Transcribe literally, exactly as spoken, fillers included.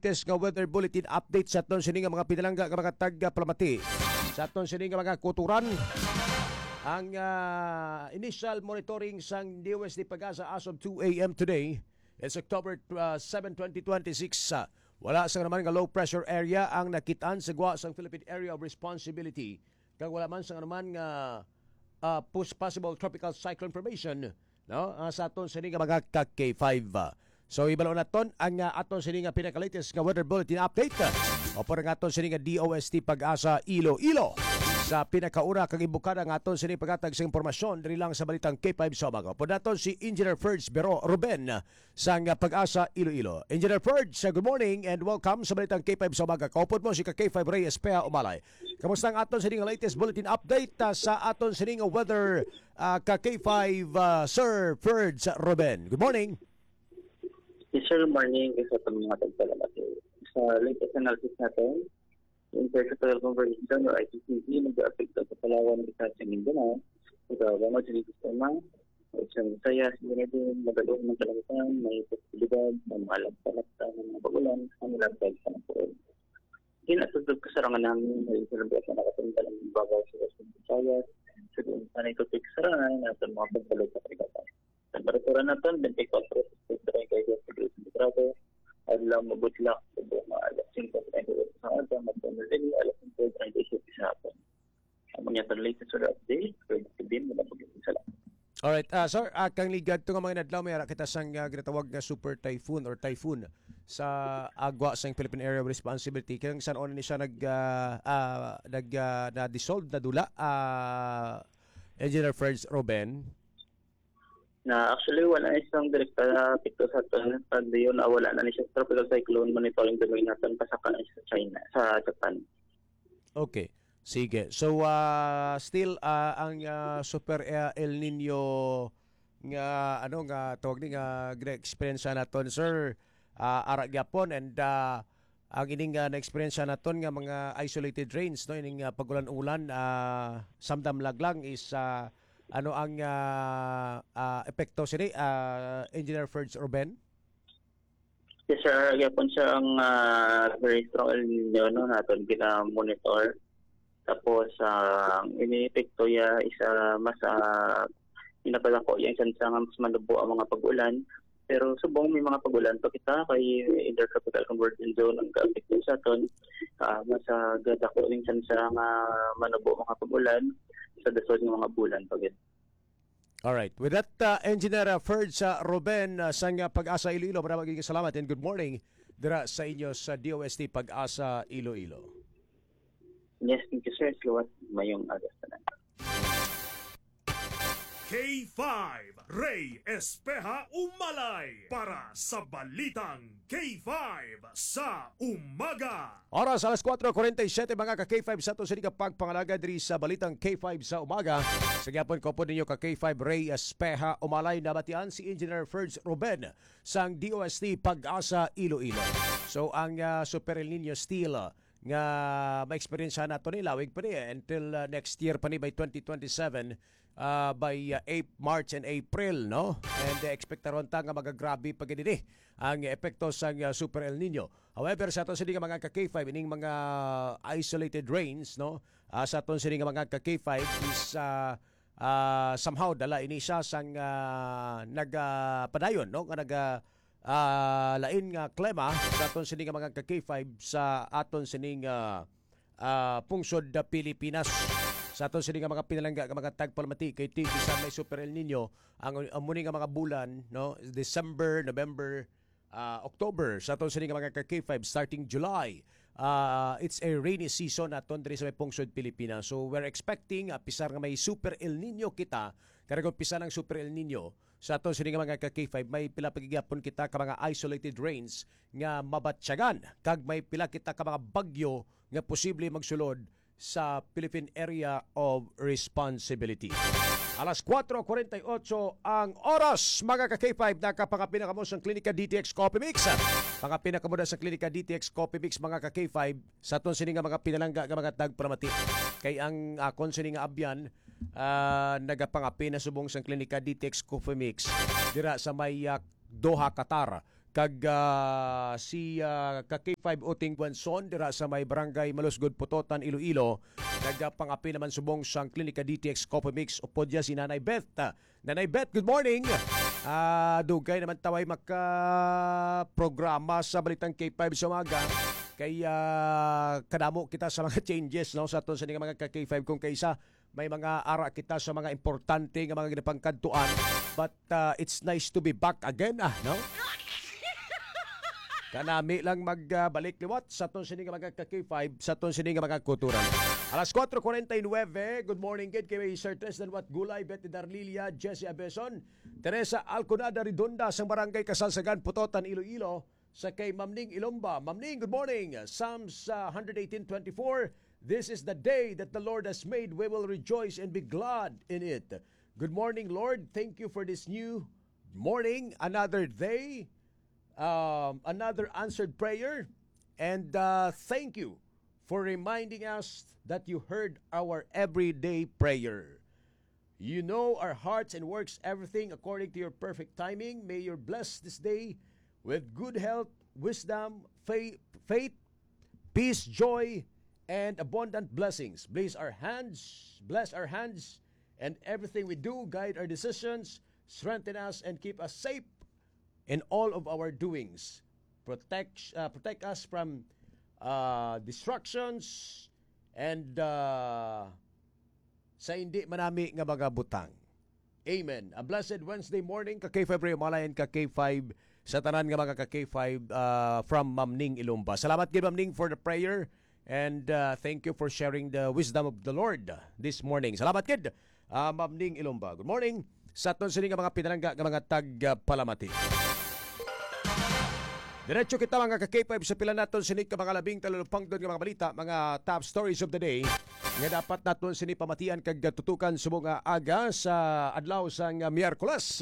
latest nga weather bulletin update sa aton sini nga mga pinalangga nga mga tagpalamati. Sa aton sini nga mga kutoran, ang, ah, initial monitoring sang D O S T PAGASA as of two A M today, it's October, ah, seven, twenty twenty-six, ah, wala sang naman nga low pressure area ang nakitaan sa gwa sang Philippine Area of Responsibility, kag wala man sang anuman nga, ah, pos-, possible tropical cyclone formation, no? Ah, sa aton sini nga mga ka K five, ah. So, ibalo naton ang, ah, aton sini nga pinaka-latest nga weather bulletin update, ah, upod ang aton sini nga D O S T PAGASA Iloilo. Sa pinakauna kag imbokada nga aton sini paghatag sa impormasyon diri lang sa Balitang K five sa umaga, upod naton si Engineer Ferds Bero Ruben, sang PAGASA Iloilo. Engineer Ferds, uh, good morning and welcome sa Balitang K five sa umaga. Kaupod mo si ka K five Rey Espeha Umalay. Kamusta ang aton sining latest bulletin update, uh, sa aton sining weather, uh, ka K five, uh, Sir Ferds Ruben? Good morning. Yes, sir. Morning. Sa itong mga tagpalamat, sa latest analysis natin, Intertropical Convergence Zone or I T C Z, nag-aapekto sa Palawan, Visayas, sa Mindanao. Sa Bangod, sa Sistema, sa Visayas, Ginadin, Magalong, ng Kalangitan, may posibilidad ng mga lapta-lapta ng mga pag-ulan, ang laptag sa napuon. Ginatugtog ka sa rangan hangin, may salubat na nakatunggal ang babaw sa Western Visayas, sa doon sa naitupik sa rangan, at ang mga pagbalot sa karigatan. Temperatura naton, twenty-four to thirty-three grados centrigrado. Adlaw, mabudlak, subong nga alas singko treinta y ocho sa aga, magdamag ini alas singko treinta y siete sa hapon. Amo niya ang latest weather update. Pwede din mo na pag-isa lang. Alright, ah, sir, ah, kang ligad to nga mga inadlaw, may ara kita sang, ah, ginatawag nga super typhoon or typhoon sa agwa sang Philippine Area of Responsibility. Kaya san-o ni siya nag, ah, ah, nag, ah, na-dissolve, nadula, ah, Engineer Ferds Ruben? Na actually, wala na siyang direkta na epekto sa aton. Pag diyon, ah, wala na ni siya tropical cyclone monitoring domain naton, pasaka na siya sa China, sa Japan. Okay. Sige. So, ah, still, ah, ang, ah, super, ah, El Nino nga, ano, nga tawag ni, nga gina-experience naton, sir, ah, ara gyapon, and, ah, ang ining, ah, na-experience naton nga mga isolated rains, no, ining, ah, pag-ulan-ulan, ah, samdam laglang is, ah, ano ang, ah, ah, epekto sini, ah, Engineer Ferds Ruben? Yes, sir. Gyapon siya ang, ah, very strong El Nino, no, naton gina-monitor. Tapos, ah, ang iniepekto ya isa mas, ah, ginapadako yang chance nga mas manubo ang mga pag-ulan. Pero subong may mga pag-ulan pa kita kay Intertropical Convergence Zone ang kaapekto sa aton, ah, mas, ah, gadako ning chance nga manubo mga pag-ulan sa dason nga mga bulan pa gid. Alright. With that, uh, Engineer, uh, Ferds, uh, Ruben, uh, sang, uh, PAGASA Iloilo, maraming salamat and good morning dira sa inyo sa D O S T PAGASA Iloilo. Yes, thank you, sir. Salamat. Mayong aga sa tanan. K five, Rey Espeha Umalay para sa Balitang K five sa Umaga. Oras alas kuwatro kuwarenta y siyete, mga ka K five, sa aton sini nga pagpangalaga diri sa Balitang K five sa Umaga. Sa gihapon ko po ninyo ka K five Rey Espeha Umalay, nabatian si Engineer Ferds Ruben sang D O S T PAGASA Iloilo. So, ang, ah, Super El Nino still, ah, nga maeksperiensyahan nato ni lawig pa ni, eh, until, ah, next year pa ni by twenty twenty-seven, ah, by, ah, Ap-, March and April, no? And, eh, ekspektaron ta nga magagrabe pa gid ini ang epekto sang, ah, Super El Nino. However, sa aton sini nga mga ka K five, ining mga isolated rains, no? Ah, sa aton sini nga mga ka K five is, ah, ah, somehow dala ini siya sang, ah, nagapadayon, no? Nga naga, ah, lain nga klima sa aton sini nga mga ka K five sa aton sini nga, ah, pungsod da Pilipinas. Sa aton sini nga mga pinalangga nga mga tagpalamati kay ti bisan may Super El Nino, ang, ang muni nga mga bulan, no, December, November, ah, October, sa aton sini nga mga ka K five, starting July, ah, it's a rainy season naton diri sa may pungsod Pilipinas. So, we're expecting, ah, pisar nga may Super El Nino kita, karag umpisa ng Super El Nino, sa aton sini nga mga ka K five, may pila pa gid gihapon kita ka mga isolated rains nga mabatyagan, kag may pila kita ka mga bagyo nga posible magsulod sa Philippine Area of Responsibility. Alas kuwatro kuwarenta y otso ang oras, mga ka K five, nakapangapin na kamo sa Klinika D T X Coffee Mix. Pangapin na kamo na sa Klinika D T X Coffee Mix, mga ka K five, sa aton sini nga mga pinalangga nga mga tagpalamati. Kay ang akon sini nga abyan, ah, nagapangapin na subong sa Klinika D T X Coffee Mix dira sa may, ah, Doha, Qatar. kag, ah, si, ah, ka K five Uting Guanzon dira sa may Barangay Malusgod, Pototan, Iloilo. Nagapang-apil naman subong sang Klinika D T X Coffee Mix upod dya si Nanay Beth. Ah, Nanay Beth, good morning. Ah, dugay naman taway maka-programa sa Balitang K five sa umaga. Kay, ah, kadamo kita sa mga changes, no, sa aton sini nga mga ka K five, kung kaysa may mga ara kita sa mga importante nga mga ginapangkadtuan. But, ah, it's nice to be back again, ah, no? Kanami lang magbalik liwat sa aton sini nga mga ka K five, sa aton sini nga mga kultura. Alas kuwatro kuwarenta y nuebe, good morning gid kay Sir Tristan Wat Gulay, Betty Darlilia, Jesse Abeson, Teresa Alconada Redonda sang Barangay Kasalsagan, Pototan, Iloilo, sa kay Ma'am Ning Ilomba. Ma'am Ning, good morning. Psalms, uh, hundred eighteen twenty-four, "This is the day that the Lord has made. We will rejoice and be glad in it." Good morning, Lord. Thank you for this new morning, another day, um, another answered prayer. And, uh, thank you for reminding us that you heard our everyday prayer. You know our hearts and works everything according to your perfect timing. May you bless this day with good health, wisdom, faith, faith, peace, joy, and abundant blessings. Bless our hands, bless our hands, and everything we do. Guide our decisions, strengthen us, and keep us safe in all of our doings. Protect, uh, protect us from, uh, destructions and, uh, sa hindi manami nga mga butang. Amen. A blessed Wednesday morning, ka K five Ray Malayan, ka K five sa tanan nga mga ka K five, uh, from Ma'am Ning Ilumba. Salamat gid, Ma'am Ning, for the prayer. And, uh, thank you for sharing the wisdom of the Lord this morning. Salamat gid, uh, Ma'am Ning Ilumba. Good morning sa aton sini nga mga pinalangga nga mga tagpalamati. Diretso kita, mga ka K five, sa pila naton sini ka mga labing talulupangdon nga mga balita, mga top stories of the day, nga dapat naton sini pamatian kag tutukan subong nga aga sa adlaw sang Miyerkules.